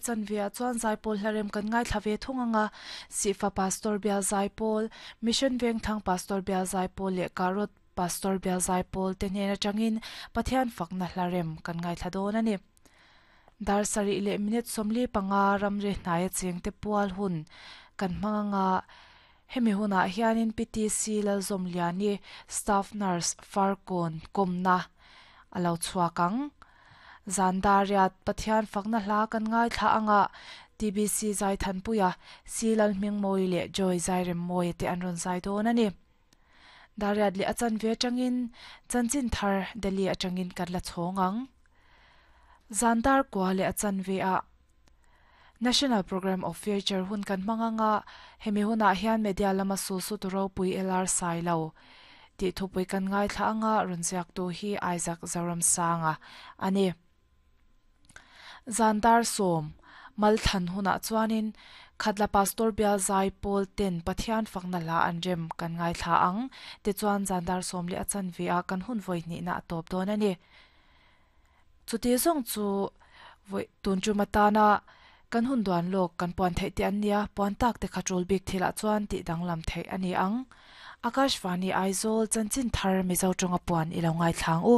chanve ah chuan zaipawl hlarem kan ngaithla ve thung ang a, Sihfa Pastor Bial Zaipawl, Mission Vengthlang Pastor Bial Zaipawl leh Karot Pastor Bial Zaipawl te hnen atangin Pathian fakna hlarem kan ngaithla dawn a ni. Dar sarih leh minute 45 ramri hnaia chengte pual hun kan hmang ang a, hemi hunah hianin PTC Lalzawmliani Staff Nurse Farkawn kawmna a lo chhuak ang. Zan dariat Pathian fakna hla kan ngaithla ang a, TBC Zaithanpuia, Si Lalhmingmawi leh Joy Zairemmawia te an rawn zai dawn a ni. Dariat leh a chanve atangin chanchin thar Delhi atangin kan la chhawng ang. Zan dar kua leh a chanve ah National Programme of Future hun kan hmang ang a, hemi hunah hian media lama su su tu ropui LR Sailo tih thupui kan ngaithla ang a, rawn ziaktu hi Isaac Zoramsanga a ni. Zan dar sawm Malthlan hunah chuanin Khatla Pastor Bial Zai Pawl ten Pathian fakna hla an rem kan ngaithla ang. Tichuan zan dar sawm leh a chanve ah kan hun vawi hnihna a tawp dawn a ni. Chuti zawng chu vawi tun tum atana kan hun duan lawk kan puan theih te an nia, puan tak te kha tul bik thilah chuan tih danglam theih a ni ang. Akashvani Aizawl Chanchin Thar Mizo tawnga puan i lo ngaithla ang u.